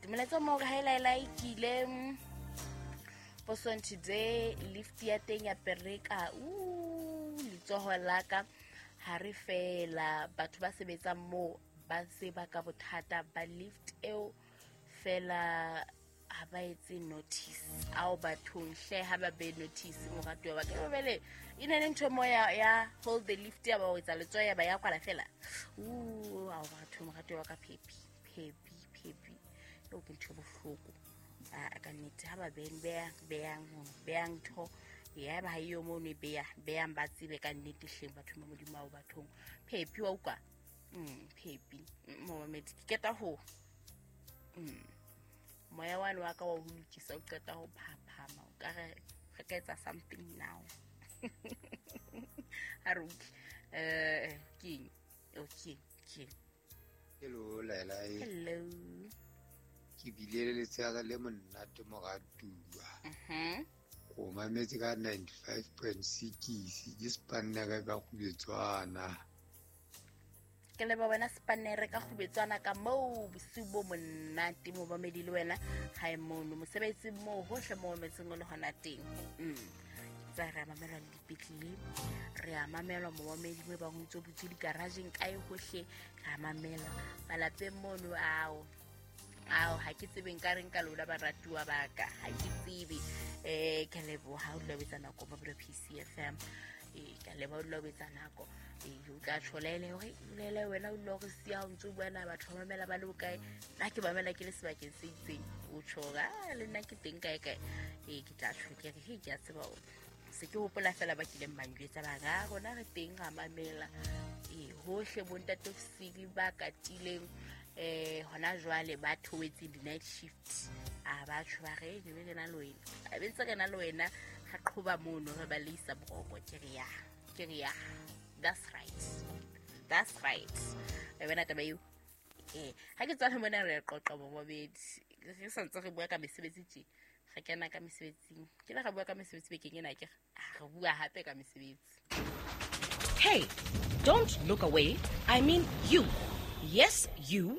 Nnete molaetsa o mo hore ha e laelae ke ile posong today, lift ya teng ya pereka. Letsoho la ka ha re fela batho ba sebetsang moo ba tseba ka bothata ba lift eo fela, ha ba etse notice ao bathong hle, ha ba be notice, moratuwa wa ka. Bele e ne le ntho mo ya hold the lift, ya ba o etsa letsoho, ya ba ya kwala fela. Ao batho, moratuwa wa ka, phepi phepi phepi, eo ke ntho e bohloko. A ka nnete, ha ba beng beyang ntho ya ba ha eyo mono, e beya beyang, ba tsebe ka nnete hleng batho ba Modimo ao bathong. Phepi wa utlwa, phepi momamedi, ke keta ho moya wane wa ka wa ho lokisa, o qeta ho phaphama, o ka re re ka etsa something now. Ha re utlwe keng okay keng. Hello Laila. Hello. Ke bile le letshehare le monate, moratuwa. O mametse ka 95.6, ke Spanere ka Kgubetswana. Ke leba wena Spanere ka Kgubetswana ka moo, bosiu bo monate momamedi, le wena hae mono mosebetsing moo, hohle mo mametseng o le hona teng. Tsa re a mamelwa le dipetlele, re a mamelwa momamedi, mo e bang ho ntso butswe digarageng kae, hohle re a mamelwa, malapeng mono. Ao ao, ha ke tsebe nka reng ka lona baratuwa ba ka, ha ke tsebe. Ke a leboha o dula o etsa nako mo PCFM. Ke a leboha o dula o etsa nako. O tla tjho lele hore lele wena o dula o re siya, o ntso o bua na batho ba mamela ba le bokae, nna ke mamela ke le sebakeng se itseng, o tjho hore a le nna ke teng kae kae. Ke tla tjho ke re he, ke a tseba hore se ke hopola fela ba kileng ba njwetsa ba re, "Ah, rona re teng, ra mamela." Hohle bontate ofisiri ba katileng hona jwale ba theohetseng di-night shift, a ba tjho ba re ne re na le wena, a be ntse re na le wena, re qhoba mono, re ba leisa boroko. Ke re ya, ke re ya, that's right, that's right. E bona taba eo. Ha ke tswa mona, re qoqa momamedi, re santse re bua ka mesebetsi tje, re kena ka mesebetsing, ke le re bua ka mesebetsi bekeng ena, ke re bua hape ka mesebetsi. Hey, don't look away. I mean you. Yes, you.